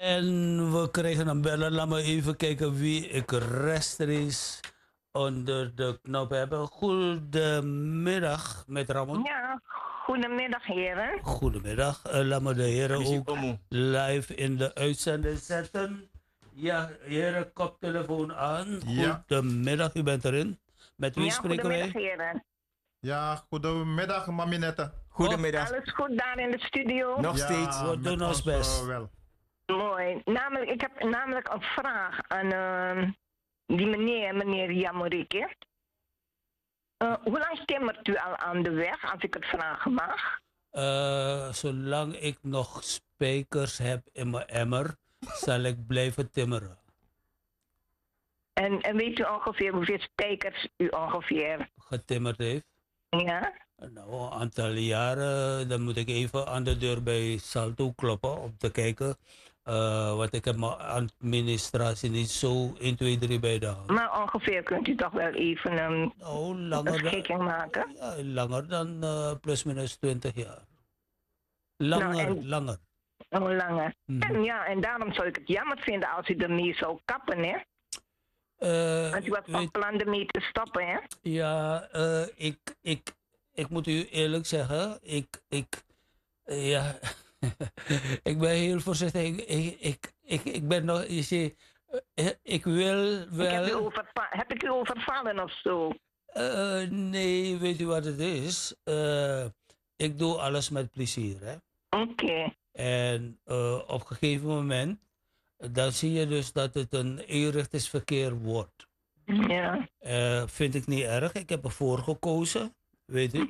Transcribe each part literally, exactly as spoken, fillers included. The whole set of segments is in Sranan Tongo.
En we krijgen een beller. Laat me even kijken wie ik rechtstreeks onder de knop heb. Goedemiddag, met Ramon. Ja, goedemiddag, heren. Goedemiddag. Eh, laat me de heren ook live in de uitzending zetten. Ja, heren, koptelefoon aan. Ja. Goedemiddag, u bent erin. Met wie spreken wij? Goedemiddag, heren. Ja, goedemiddag, Maminette. Goedemiddag. Alles goed daar in de studio? Nog steeds. We doen ons best. Mooi. Namelijk, ik heb namelijk een vraag aan, ehm, die meneer, meneer Jamoriki. Eh, hoe lang timmert u al aan de weg, als ik het vragen mag? Eh, zolang ik nog spijkers heb in mijn emmer, zal ik blijven timmeren. En, en weet u ongeveer hoeveel spijkers u ongeveer getimmerd heeft? Ja. Nou, een aantal jaren, dan moet ik even aan de deur bij Salto kloppen om te kijken. Eh, want ik heb mijn administratie niet zo één, twee, drie bij de hand. Maar ongeveer kunt u toch wel even een, nou, een schikking maken? Ja, langer dan, eh, plus minus twintig jaar. Langer, langer. Oh, langer. En ja, en daarom zou ik het jammer vinden als u ermee zou kappen, hè? Eh, als u was van plan ermee te stoppen, hè? Ja, eh, ik, ik, ik moet u eerlijk zeggen, ik, ik, eh, ja, ik ben heel voorzichtig. Ik, ik, ik, ik, ik ben nog, je ziet, eh, ik wil wel. Ik heb u overva-, heb ik u overvallen of zo? Eh, nee, weet u wat het is? Eh, ik doe alles met plezier, hè. Oké. En, eh, op een gegeven moment, dan zie je dus dat het een eenrichtingsverkeer wordt. Ja. Eh, vind ik niet erg. Ik heb ervoor gekozen, weet u.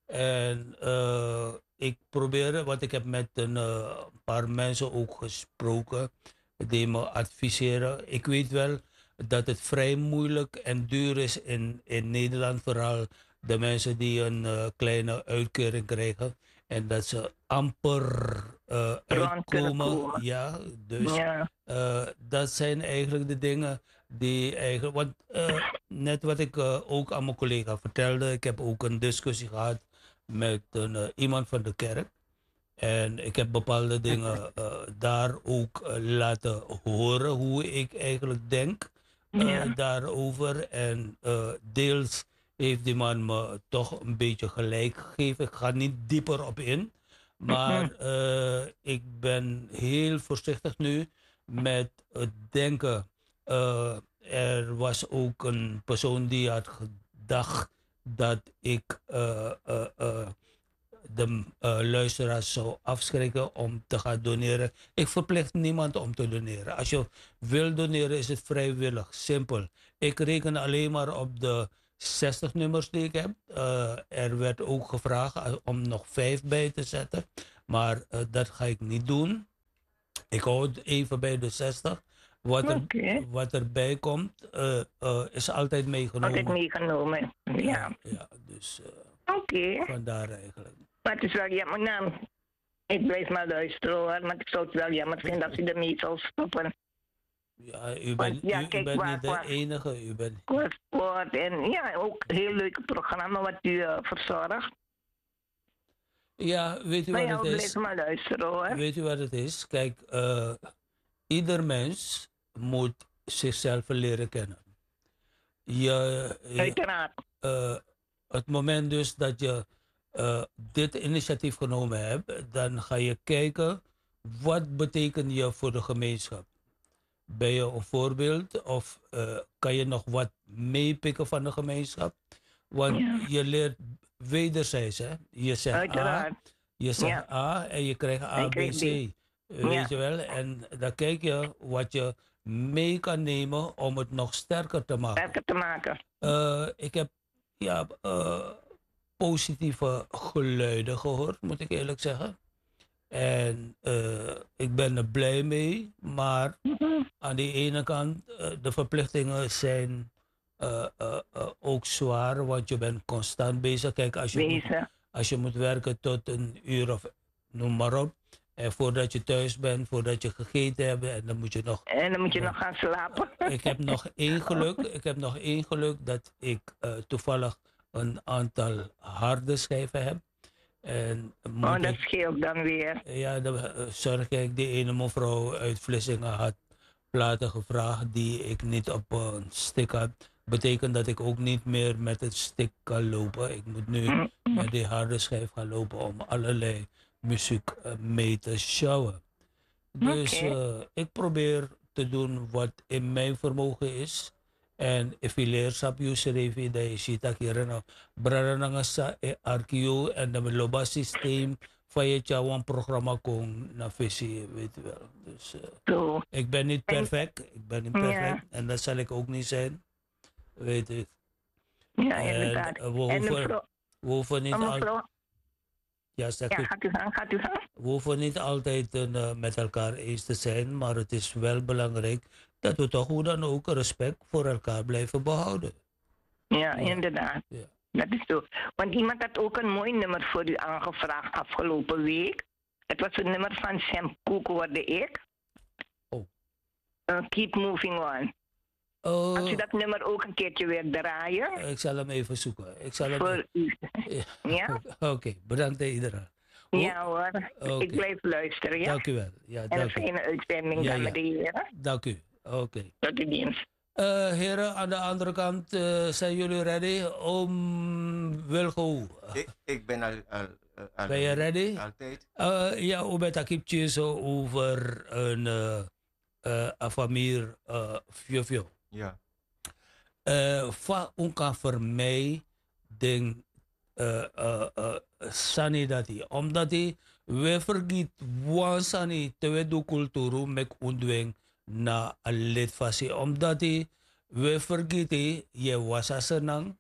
En, eh, ik probeer, want ik heb met een, eh, paar mensen ook gesproken die me adviseren. Ik weet wel dat het vrij moeilijk en duur is in, in Nederland, vooral de mensen die een, eh, kleine uitkering krijgen en dat ze amper, eh, uitkomen. Ja, dus, eh, dat zijn eigenlijk de dingen die eigenlijk, want, eh, net wat ik, eh, ook aan mijn collega vertelde, ik heb ook een discussie gehad met een, eh, iemand van de kerk. En ik heb bepaalde dingen, eh, daar ook, eh, laten horen, hoe ik eigenlijk denk, eh, daarover. En, eh, deels heeft die man me toch een beetje gelijk gegeven. Ik ga niet dieper op in. Maar, eh, ik ben heel voorzichtig nu met het denken. Eh, er was ook een persoon die had gedacht dat ik, eh, eh, eh, de, eh, luisteraars zou afschrikken om te gaan doneren. Ik verplicht niemand om te doneren. Als je wil doneren, is het vrijwillig. Simpel. Ik reken alleen maar op de zestig nummers die ik heb. Eh, er werd ook gevraagd, eh, om nog vijf bij te zetten. Maar, eh, dat ga ik niet doen. Ik hou het even bij de zestig. Wat er, wat erbij komt, eh, eh, is altijd meegenomen. Altijd meegenomen, ja. Ja, ja, dus, eh, vandaar eigenlijk. Maar het is wel jammer, nou, ik blijf maar luisteren, hoor, maar ik zou het wel jammer vinden als u ermee zou stoppen. Ja, u bent, ja, u, u bent niet de enige. U bent kort, kort en ja, ook heel leuke programma wat u, eh, verzorgt. Ja, weet u wat het is? Weet u wat het is? Kijk, eh, ieder mens moet zichzelf leren kennen. Je, je, eh, het moment dus dat je, eh, dit initiatief genomen hebt, dan ga je kijken, wat betekent je voor de gemeenschap? Ben je een voorbeeld of, eh, kan je nog wat meepikken van de gemeenschap? Want je leert wederzijds, hè? Je zegt A, je zegt A en je krijgt A B C. Weet je wel? En dan kijk je wat je mee kan nemen om het nog sterker te maken. Sterker te maken. Eh, ik heb, ja, eh, positieve geluiden gehoord, moet ik eerlijk zeggen. En, eh, ik ben er blij mee, maar aan de ene kant, eh, de verplichtingen zijn, eh, eh, eh, ook zwaar, want je bent constant bezig. Kijk, als je moet, als je moet werken tot een uur of noem maar op. En voordat je thuis bent, voordat je gegeten hebt, en dan moet je nog. En dan moet je nog gaan slapen. Ik heb nog één geluk. Ik heb nog één geluk dat ik, eh, toevallig een aantal harde schijven heb. En moet Oh, dat ik, scheelt dan weer. Ja, dan eh, zorg ik die ene mevrouw uit Vlissingen had platen gevraagd die ik niet op een stick had. Betekent dat ik ook niet meer met het stick kan lopen. Ik moet nu Mm, mm. met die harde schijf gaan lopen om allerlei muziek eh, mee te sjouwen. Dus Oké. eh, ik probeer te doen wat in mijn vermogen is. En efileer sabi yusrefi dan yu si taki yere no, brada nanga sa e arki yu, en dan mi lobi a systeem fa yu e tyari wan programma kon na fesi, weet u wel. Dus eh, So, ik ben niet en perfect, ik ben niet perfect, ja, en dat zal ik ook niet zijn, weet u. Ja, en inderdaad. Eh, we En hoeven, mevrouw, we hoeven niet en al mevrouw, Ja, zegt ja, u. Gaat u gang, gaat u gang. We hoeven niet altijd eh, met elkaar eens te zijn, maar het is wel belangrijk dat we toch hoe dan ook respect voor elkaar blijven behouden. Ja, ja, inderdaad. Ja. Dat is zo. Want iemand had ook een mooi nummer voor u aangevraagd afgelopen week. Het was een nummer van Sam Cooke, hoorde ik. Oh. Eh, Keep Moving On. Als u Eh, dat nummer ook een keertje wilt draaien. Ik zal hem even zoeken. Ik zal hem Voor even u. Ja? Ja? Oké, bedankt hè, iedereen. Hoe- Ja hoor, ik Oké. Blijf luisteren, ja? Dank u wel. Ja, En een dank u. Fijne uitzending, ja, dames en heren. Dank u. Oké. Tot uw dienst. Eh, heren, aan de andere kant, eh, zijn jullie ready? Om Wilgo. Ik, ik ben al, al, al Ben je ready? Altijd. Eh, ja, we hebben het zo over een eh, eh, a famiri eh, fiofio. Ja. Eh, fa un kan fermei den eh, eh, eh, sani dati. Omdati we fergiti wan sani te we du kulturu meki un du en na a leti fasi. Omdati we fergiti yu e wasi a senan,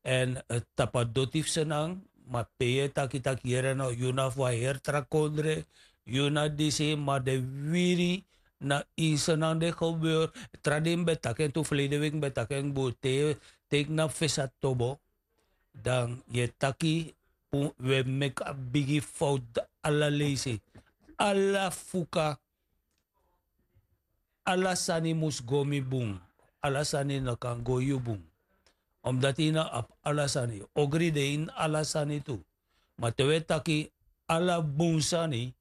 en eh, tapu a doti fu senan, ma pe yu e taki taki yere no, yu na fu wan heri tra kondre, yu na disi, ma den wiri na ini senan den gebeur. Tra dei mi ben taki en tu, ferleden weki mi ben taki en bun, te yu e knapu fesi a tobo, dan yu e taki un, wi e meki a bigi fowtu ala leisi. Ala fuka, ala sani mus go mi bun. Ala sani no kan go yu bun. Omdati yu no abi ala sani. Ogri de ini ala sani tu. Ma te wi e taki ala bun sani,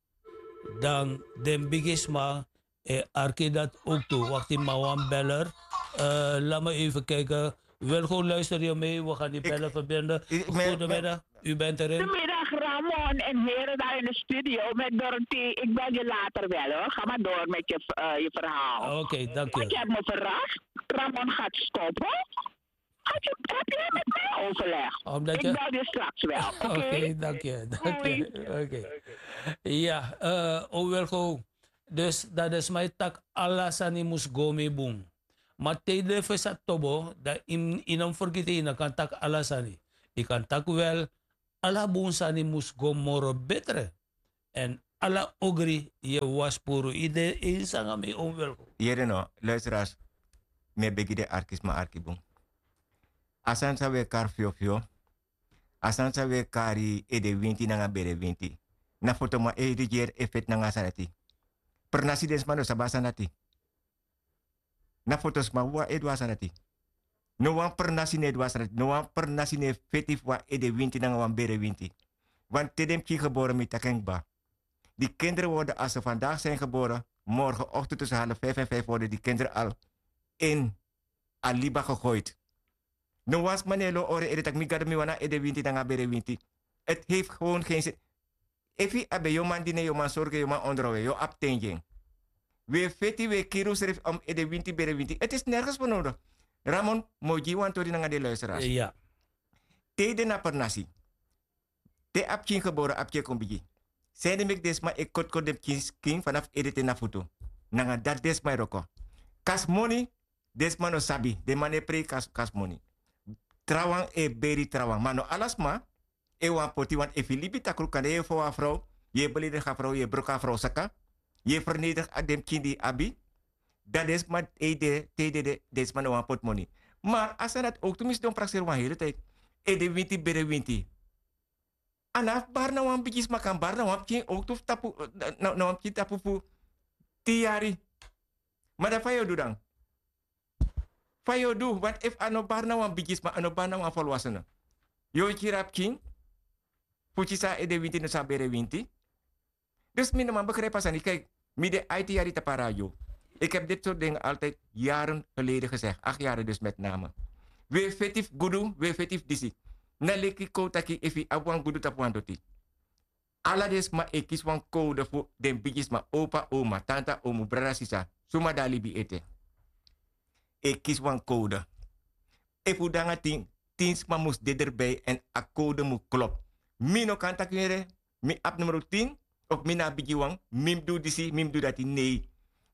dan den bigisma e arki dati ook tu. Wakti, mi na wan beller. Eh, laat me even kijken. Wilgo, luister je mee? We gaan die bellen verbinden. Goedemiddag, u bent erin. Goedemiddag, Ramon en heren daar in de studio met Dorothy. Ik bel je later wel, hoor. Ga maar door met je, eh, je verhaal. Oké, dank je. Want je hebt me verrast. Ramon gaat stoppen. Heb je, heb je met mij overleg? Omdat Ik je bel je straks wel, oké? Oké, dank je, dank je. Oké. Ja, eh, o Wilgo. Dus dati den sma e taki ala sani mus go mi bun. Ma te yu de fu sa tobo, dan yu, yu no mus fergiti, yu no kan taki ala sani. Yu kan taki wel, ala bun sani mus go moro betre. En ala ogri yu e wasi puru. Yu de eens nanga mi, o Wilgo? Yere no, luisteraars, mi e begi den arki sma arki bun. A sani san wi e kari fiofio, a sani san wi e kari edewinti nanga berewinti, na fotoman e rigeri e feti nanga a sani dati. Pernasi den sma no sabi a sani dati. Na fotosma wawan e du a sani dati. No wan pernasi no e du a sani dati. No wan pernasi no e feti fu wan edewinti nanga wan berewinti. Want te den pikin gebore, mi taki en kba. Die kinderen worden, als ze vandaag zijn geboren, morgenochtend tussen half vijf en vijf worden die kinderen al in a liba gegooid. No wan sma no e lon hori ede taki mi gado, mi wani a edewinti nanga a berewinti. Het heeft gewoon geen zin. Efu a ben yu man dini en, yu man sorgu en, yu man onderhoud en, yu abi ten gi en. Wi e feti, wi e kiri unsrefi om edewinti, berewinti. Het is nergens voor nodig. Ramon, mi o gi yu wan tori nanga den luisteraars. Ja. Te yu de na pernasi, te a pikin gebore, a pikin e kon bigi. Sanede meki den sma e kotkoti den pikin skin vanaf ede te na futu? Nanga dati den sma e wroko. Kasi moni, den sma no sabi, den man no e prei kas-, kasi moni. Trawan e beri trawan. Ma no ala sma e wani poti, want efu yu libi takru, kande yu e fon a frow, yu e beleidigi a frow, yu e broko a frow saka, yu e fernedigi a den pikin di yu abi, dan den sma e de, te yu dede, den sma no wani poti moni. Maar a sani dati ook tu, mi sidon prakseri wan hele tijd. Edewinti, berewinti. A no abi bari na wan bigisma, kan bari na wan pikin ook tu fu tapu, na, na wan pikin tapu fu tin yari. Ma dan fa yu o du dan? Fa yu o du, want efu a no bari na wan bigisma, a no bari na wan volwassene, yu o kiri a pikin. Fu kisi a ede winti no san bere winti. Dus mi no man begrijpi a sani. Kijk, mi de aiti yari tapu a radio. Ik heb dit soort dingen altijd jaren geleden gezegd, acht jaren dus met name. We feti fu gudu, we feti fu disi. Na leki kon taki efu yu abi wan gudu tapu wan doti. Ala den sma e kisi wan kowde fu den bigisma, opa, oma, tanta, omu, brada, sisa, suma de a libi ete. E kisi wan kowde. Efu un de nanga tin, tin sma mus de derbij èn a kowde mus klop. Mi no kan taki yere, mi abi numero tin, of mi na a bigi wan, mi mus du disi, mi mus du dati, nei.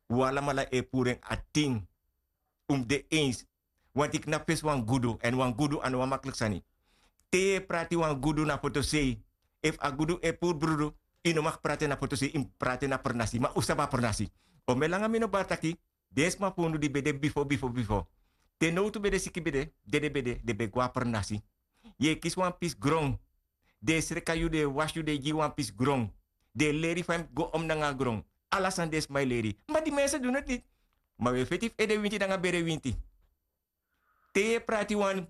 Un alamala e puru en a tin. Un mus de eens. Wanti knapu fesi wan gudu, èn wan gudu a no wan makliki sani. Te yu e prati wan gudu na fotosei. Efu a gudu e puru brudu, yu no mag prati na fotosei, yu mus prati na pernasi, ma un sabi a pernasi. O mi e langa mi no bari taki, den sma fu unu di ben de bifo, bifo, bifo. Te nowtu ben de siki ben de, dede ben de, den ben go na pernasi. Yu e kisi wan pisi gron. Den e sreka yu, den e wasi yu, den e gi yu wan pisi gron. Den e leri fa yu mus go om nanga a gron. Ala sani den sma e leri. Ma di mensen doen het niet. Ma wi e feti fu ede winti nanga bere winti. Te yu e prati wan,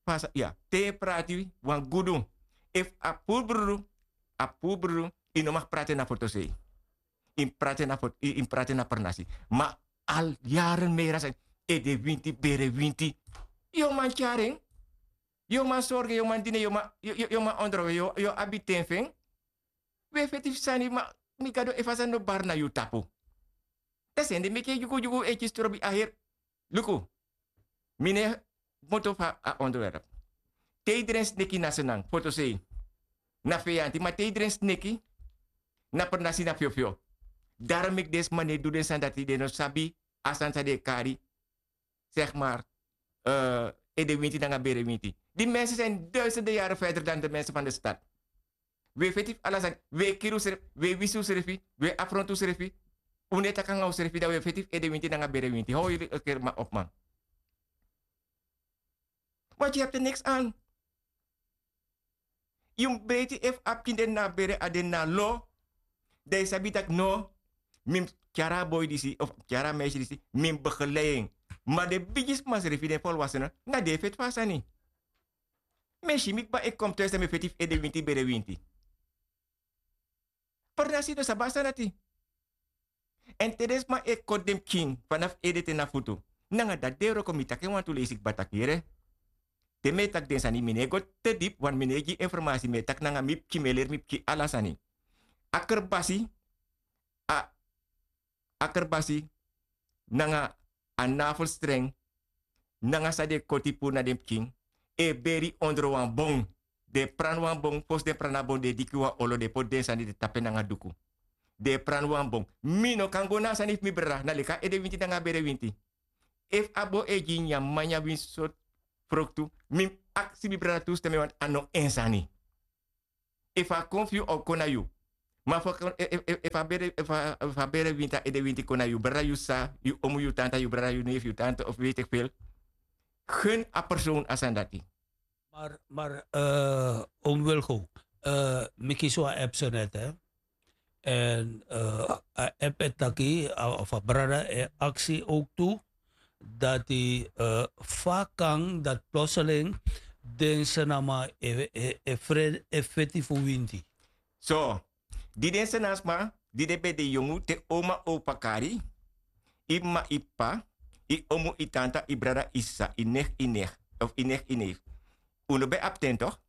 pasa, ya, te yu e prati wan gudu. Efu a puru brudu, a puru brudu, yu no mag prati na fotosei. Yu mus prati na fot-, yu, yu mus prati na pernasi. Ma al jaren meri a sani, ede winti, bere winti. Yu o man tyari en. Yu o man sorgu en, yu o man dini en, yu o man, yu, yu, yu o man ondro en, yu, yu o abi ten fu en. Wi e feti fu sani, ma mi Gado, efu a sani no bari na yu tapu. Dan sende meki yu dyugudyugu e kisi trobi a heri. Luku, mi no e moto fu a onderwerp. Te yu dren sneki na Senang, fotosei, na feyanti, ma te yu dren sneki na pernasi, na fyofyo. Daarom meki den sma no e du den sani dati, den no sabi a sani san den e kari, zeg maar, eh, ede winti nanga bere winti. Die mensen zijn duizenden jaren verder dan de mensen van de stad. Wi e feti fu ala sani, wi e kiri unsrefi, wi e wisi unsrefi, wi e afrontu unsrefi. Un no e taki nanga unsrefi, dan wi e feti fu ede winti nanga bere winti. Hou jullie een keer maar op, man. Want je hebt er niks aan. Yu mus breiti efu a pikin de na bere, a de na lo. Dan yu sabi taki no, mi mus tyari a boi disi, of tyari a meisje disi, mi mus begeleid en. Ma den bigisma srefi, den volwassenen, na den e feti fu a sani. Mi e si mi kba e kon thuis, dan mi e feti fu ede winti, bere winti. Pernasi no sabi a sani dati. Èn te den sma e koti den pikin, fanafu ede te na futu, nanga dati den wroko. Mi taki en wantu leisi kba taki yere. Te mi e taki den sani, mi no e go te dipi, want mi no e gi informasi, mi e taki nanga mi pikin, mi e leri mi pikin ala sani. A kerbasi, a, a kerbasi, nanga a navelstrengi, nanga san den koti puru na den pikin, e beri ondro wan bon. Den e prani wan bon, fosi den prani a bon, den e diki wan olo, den e poti den sani, den tapu en nanga duku. Den e prani wan bon. Mi no kan go na a sani fu mi brada, na leki a ede winti nanga a bere winti. Efu a bon e gi nyan, mi nyan wan sortu froktu, mi mus aksi mi brada tu stem, want a no en sani. Efu a kon fu yu, a o kon na yu. Ma efu a kon, e, e, e, efu a bere, efu a, efu a bere winti, a ede winti kon na yu brada, yu sisa, yu omu, yu tanta, yu brada, yu neef, yu tante, of weet ik veel. Gun a persoon a sani dati. Maar, maar, eh, oom Wilgo, eh, mi kisi wan app so net, hè. En, eh, a app e taki, a, of a brada e aksi ook tu, dati, eh, fa kan dati plotseling den Sranan e, e, e fre-, e feti fu winti. So, di den Sranan sma, di den ben de yongu, te oma, opa kari, i mma, i p'pa, i omu, i tanta, i brada, i sisa, i nicht, i nicht, of i nicht, i neef. Un no ben abi ten toch?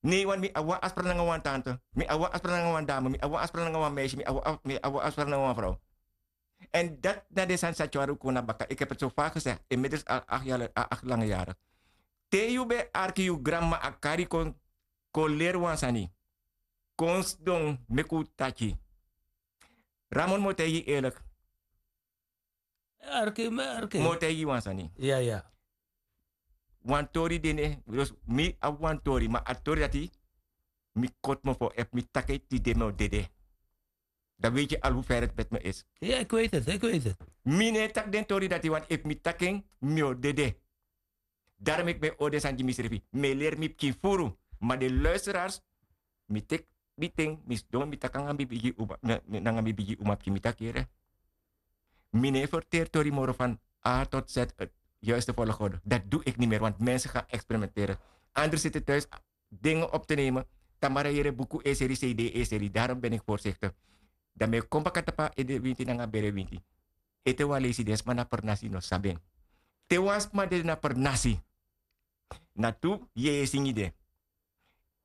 Nee, want mi abi wan afspraak nanga wan tante, mi abi wan afspraak nanga wan dame, mi abi wan afspraak nanga wan meisje, mi abi wan af-, mi abi wan afspraak nanga wan vrouw. En dat na den sani san tyari un kon na baka. Ik heb het zo vaak gezegd, inmiddels al acht jaar, a-, acht lange jaren. Te yu ben arki yu granmama a kari kon, kon leri wan sani. Kon sidon, meki un taki. Ramon, mi o taigi yu eerlijk. Arki, mi arki. Mi o taigi yu wan sani. Ya, ya. Wan tori de ne, dus mi abi wan tori, ma a tori dati, mi koti mofo, efu mi taki en tide, mi o dede. Dan weet je al hoe ver het met me is. Ja, ik weet het, ik weet het. Mi no e taki den tori dati, want efu mi taki en, mi o dede. Daarom meki mi e hori den sani gi misrefi. Mi e leri mi pikin furu. Ma den luisteraars, mi teki mi ten, mi sidon, mi taki nanga mi bigi uma, na-, nanga mi bigi uma pikin, mi taki yere. Mi no e verteri tori moro van A tot Z, het juiste volgorde. Dat doe ik niet meer, want mensen gaan experimenteren. Andri siti tuis, dinge op te nemen. Tamara yere buku e seri cd e seri darom ben iki forsikti. Dan mi e kon baka tapu a ede winti nanga bere winti. Ete wan leisi den sma na pernasi no sabi en. Te wan sma dede na pernasi, na tu yeye singi de.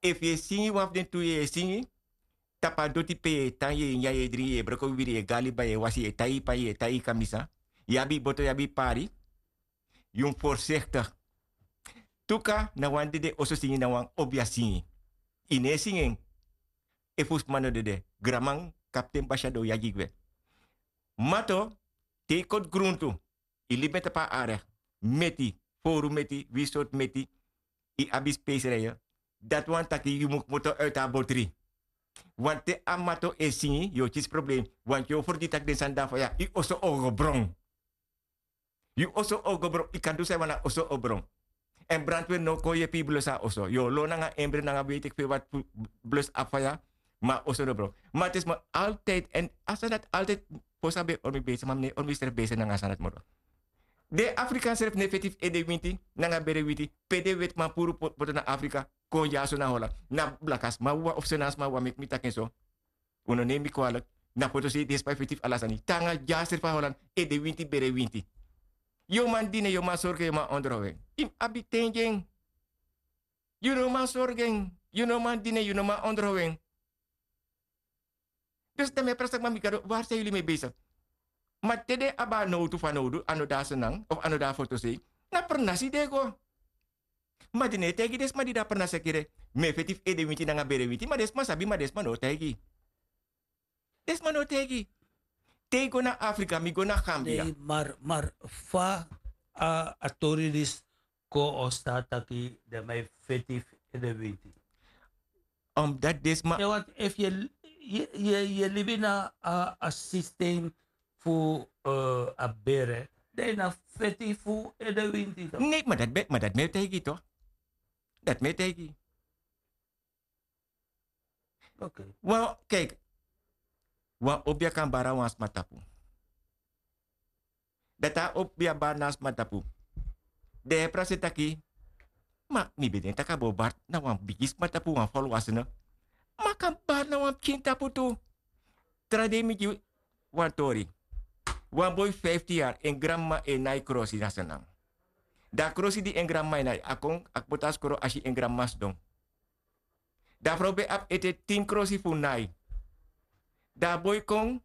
Efu yu e singi wan fu den tu yeye singi, tapu a doti pe yu e tan yu e nyan yu e dringi yu e broko wiri yu e go na liba yu e wasi yu e tai yu pan yu e tai yu kamisa, yu abi yu boto yu abi yu pari. Yu mus forsikti. Tuka na wan dede oso singi na wan obia singi. Yu no e singi en. Efu sma no dede granman kapten basi a don yagi gwe. Mato, te yu koti gruntu, yu libi en tapu a are, meti, foru meti, wi sortu meti, yu abi speisrije. Dati wani taki yu mu kmoto uiti a botri. Wante a mato e singi yu o kisi problem. Wante yu o fergiti tak' den sani de na faya yu oso o go bron. Yu oso o go bron yu kan du san yu wani a oso o bron. Èn brantweri no o kon yepi yu blus a oso yu o lon nanga embre nanga weiti eki pe wati fu blus a faya. Ma a oso no bron. Ma a te sma altiydi èn a sani dati altiydi. Fosi a ben e hori mi besi ma mi no e hori mi srefi besi nanga a sani dati moro. Den afrikan srefi no e feti fu ede winti nanga bere winti. Pe den wetiman puru boto na afrika kon dyaso na hola na blaka sma wawan of sena sma wawan meki mi taki en so. Un no neem mi kwalik. Na foto sei den spa e feti fu ala sani te nanga dya srefi a holan. Ede winti bere winti. Yu o man dine yu o man sorgen yu o man ondrowen. Yu mus abi ten gi en. Yu no man sorgen. Yu no man dine yu no man ondrowen. Dus dan mi e prasi taki ma mi gado wari san yuli mi e besi? Ma te den abi a nowtu fanowdu a no de a senan of a no de a fotosei. Na pernasi den e go. Ma den no e taigi den sma di de a pernasi a kiri. Mi e feti fu ede winti nanga bere winti ma den sma sabi ma den sma no o taigi. Den sma no o taigi. Te yu go na afrika mi go na gambia. Mar mar fa a tori disi kon o stati taki den man e feti fu ede winti? Omdat den sma efu yu e libi na a sistem fu a bere dan yu na feti fu ede winti. Nei ma dati mi e taigi yu to. Dati mi e taigi yu. Wan kiki wan obia kan bari na wan sma tapu. Dati a obia bari na a sma tapu. Den e prasi e taki ma mi ben denki tak' a bo bari na wan bigi sma tapu wan folwasene. Ma a kan bari na wan pikin tapu tu. Tra dei mi gi wan tori. Wan boi fu fiftin yari en granmama e nai krosi na senan. Dan a krosi di en granmama e nai a kon a kmoto a skoro a si en granmama sidon. Dan a frow ben abi ete tin krosi fu nai. Dan a boi kon.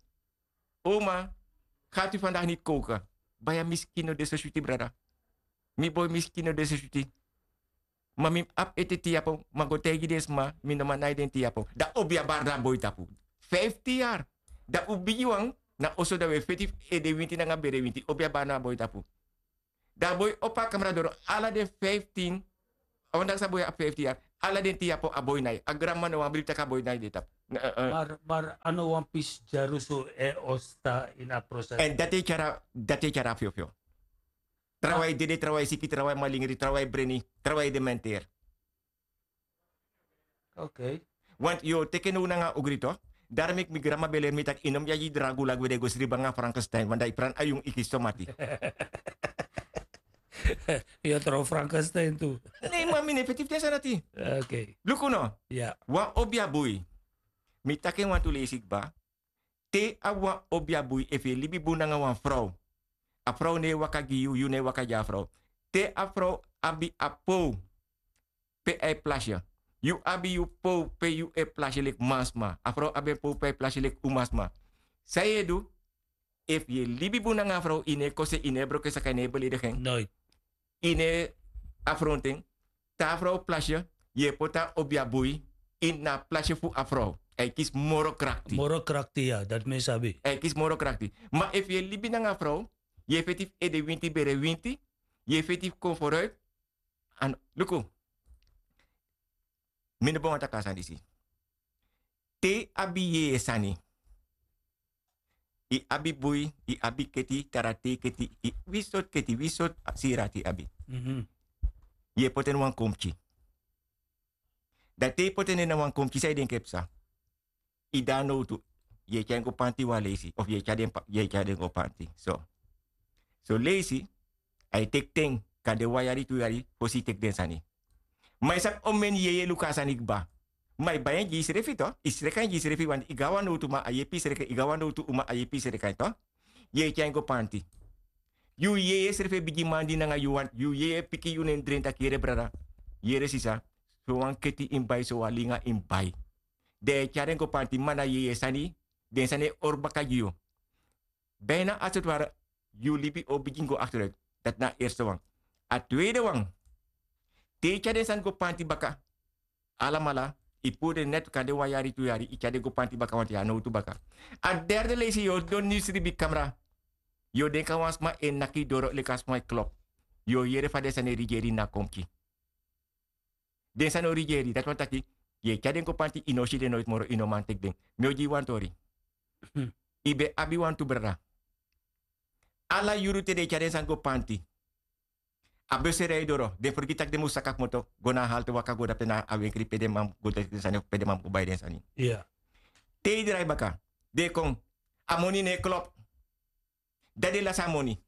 Oma, gati fandagi niti kowka. Baya mi skin no de so switi brada. Mi boi mi skin no de so switi. Ma mi mus abi ete tin yapo ma go taigi den sma mi no man nai den tin yapo. Dan obi a bari na a boi tapu. Fiftin yari. Dan un bigiwan na oso dan un e feti fu ede winti nanga bere winti obi a bari na a boi tapu. Dan a boi opo a kamra doro ala den fiftin. Ondanks a boi abi fiftin yari ala den tin yapo a boi nai a granmama no wani bribi tak' a boi nai den tapu. Mar a no wan pisi dyarusu e o sta ini a proses. Èn dati e tyari a fyofyo. Trawan e dede trawan e siki trawan e malingri trawan e breni trawan e dementeri. Okei. Want yu o teke now nanga ogri to. Dari meki mi granma ben leri mi tak' yu no mus yagi dragu lagi we den go sribi nanga frankenstein want dan yu pran ayun iki somati. Yu o tron frankenstein tu. Nei man mi no e feti fu den sani dati. Okei. Luku no. Wan obi a bui. Mi taki en wantu leisi kba. Te a wan obi a bui efu yu e libi bun nanga wan frow. A frow no e waka gi yu yu no e waka gi a frow. Te a frow abi a pow pe a e plasi yu abi yu pow pe yu e plasi leki mansma a frow abi en pow pe a e plasi leki umasma. San yu e du? Efu yu e libi bun nanga a frow yu no e kose yu no e broko en saka yu no e beledigi en. Yu no e afrontu en. Te a frow plasi yu e poti a obi a bui ini a plasi fu a frow. A e kisi moro krakti. Moro krakti ya dati mi e sabi. A e kisi moro krakti. Ma efu yu e libi nanga a frow yu e feti fu ede winti bere winti. Yu e feti fu kon foruit. Luku. Mi no ben wani taki a sani disi. Te yu abi yeye sani. Yu abi bui yu abi keti tara te yu keti. Wi sortu keti wi sortu siri ati yu abi. Yu e poti en na wan konpki. Dan te yu poti en na wan konpki san yu denki e psa? Yu de na nowtu. Yu e tyari en go panti wan leisi of yu e tyari den go panti so. Son leisi a e teki ten. Kan de wan yari tu yari fosi yu teki den sani. Ma yu sabi omeni yeye luku a sani kba. Ma yu bai en gi yusrefi to, yu sreka en gi yusrefi wanti yu go na wan nowtu man a yepi yu sreka en yu go na wan nowtu uma a yepi yu sreka en to. Yu e tyari en go panti. Yu yeye srefi e bigi man di nanga yu wanti yu yeye piki yu nen dren taki yere brada, yere sisa, sowan keti yu mus bai sowan linga yu mus bai. Den e tyari en go panti ma na yeye sani. Den sani e hori baka gi yu. Bina a seti wari yu libi o bigin go akteruit. Dati na a erste wan. A tweede wan, te yu tyari den sani go panti baka, alamala yu puru den neti kan de wan yari tu yari yu tyari den go panti baka wanti yu a nowtu baka. A derde leisi yu o doni yu sribi kamra. Yu o denki a wan sma e naki yu doro leki a sma e klop. Yu o yere fa den sani e rigeri ini a konpki. Den sani o rigeri dati wani taki, yu e tyari den go panti yu no o si den noiti moro yu no man teki den. Mi o gi yu wan tori. Yu ben abi wantu brada. Ala yuru te den e tyari den sani go panti, a bus e rei doro den fergiti tak' den mus saka kmoto go na a halte waka go dape na a wenkri pe den man go teki den sani fu pe den man mus go bai den sani. Te yu drai baka, den e kon. A moni no e klop. Dan den lasi a moni.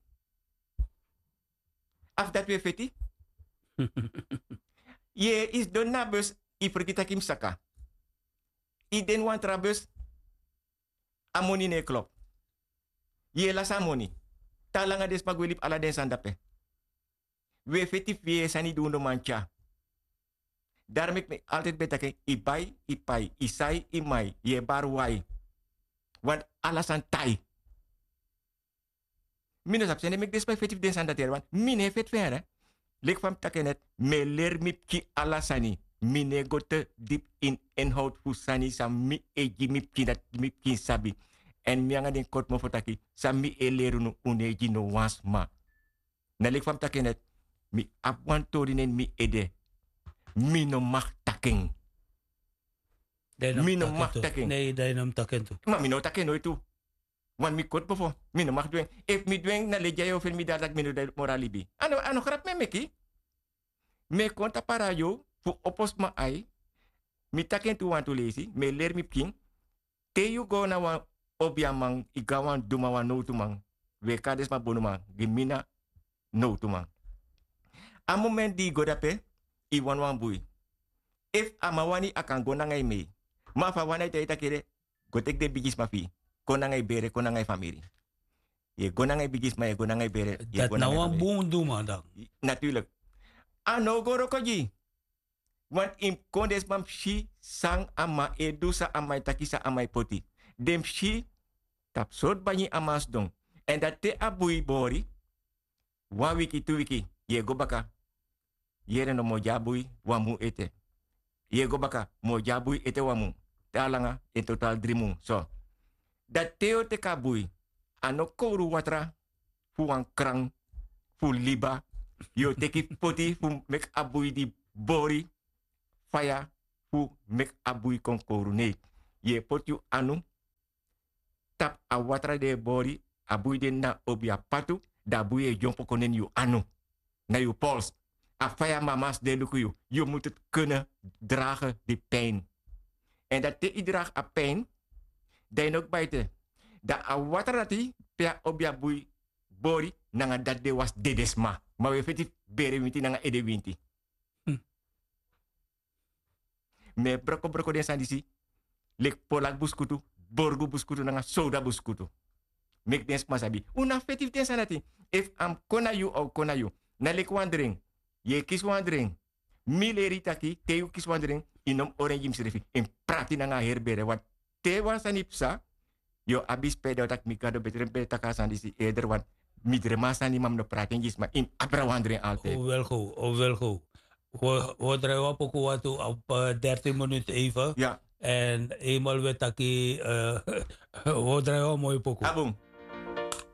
A fu dati wi e feti. Ye yu sidon ini a bus, yu fergiti tak' yu mus saka. Yu de ini wan tra bus. A moni no e klop. Yu e lasi a moni. Te a langa den sma gwe libi ala den sani dape. Wi e feti fu yeye sani di un no man tyari. Dari meki mi altidi ben taki en, yu bai, yu pai, yu sai, yu mai, yu e bari wai. Wantu ala sani tai. Mi no sabi sende meki den sma e feti fu den sani dati eri wantu mi no e feti fu en. Leki fa mi taki en neti, mi e leri mi pikin ala sani. Mi no e go te dipi ini enhowtu fu sani san mi e gi mi pikin dati mi pikin sabi. Èn mi nanga den koti mofo taki san mi e leri unu un no e gi no wan sma. Na leki fa mi taki en neti, mi abi wan tori na ini mi ede. Mi no maki taki en. Mi no maki taki en. Ma mi no o taki en noiti tu. Wan mi koti bofo, mi no maki du en. Efu mi du en na legi a yu o feni mi dari tak' mi no de moro na libi. A no grapu mi e meki. Mi e kon tapu a radio fu opo sma ai. Mi taki en tu wantu leisi mi e leri mi pikin. Te yu go na wan obiaman, yu go na wan duman wan nowtuman, wi e kari den sma bonuman. Gi mi na nowtuman. A momenti di yu go dape, yu wani wan bui. Efu a man wani a kan go nanga yu mei. Ma efu a wani a e taigi yu taki ede, go teki den bigisma fu yu, kon nanga yu bere kon nanga yu famiri. Yu e go nanga yu bigisma yu e go nanga yu bere. Dati na wan bun duman dan. Naturlik. A no o go wroko gi yu. Want yu mus kon den sma mus si san a man e du san a man e taki san a man e poti. Den mus si tapu sortu banyi a man sidon. Èn dati te a bui bori wan wiki tu wiki, yu e go baka. Yere no mi o gi a bui wan mun ete. Yu e go baka mi o gi a bui ete wan mun. Te a langa en total dri mun so. Dati te yu o teki a bui, a no kowru watra fu wan kran fu liba. Yu o teki poti fu meki a bui di bori faya fu meki a bui kon kowru nei. Yu e poti yu anu tapu a watra di e bori. A bui de na obi a patu. Dan a bui e dyompo kon neni yu anu na yu pols. A faya mama sidon e luku yu. Yu mutu kene drage di pin. Èn dati te yu drage a pin, dan yu no kba ete. Dan a watra dati pe a obi a bui bori nanga dati de wasi dedesma. Ma wi e feti fu bere winti nanga ede winti. Mi e brokobroko den sani disi leki polaki buskutu, borgu buskutu nanga sowda buskutu. Meki den sma sabi un na feti fu den sani dati. Efu a mus kon na yu a o kon na yu. Na leki wan dren. Yu e kisi wan dren. Mi leri yu taki te yu kisi wan dren, yu no mus orengi yusrefi. Yu mus prati nanga a heri bere wan te wan sani psa. Yu o abi spede o taki mi gado betre mi ben e taki a sani disi eder wan. Mi drema a sani ma mi no prati en gi sma yu mus abra wan dren altide. Owel go owel go. Wi o drai wan poku wantu op dertin minut even. Èn enmal wi e taki wi o drai wan moi poku.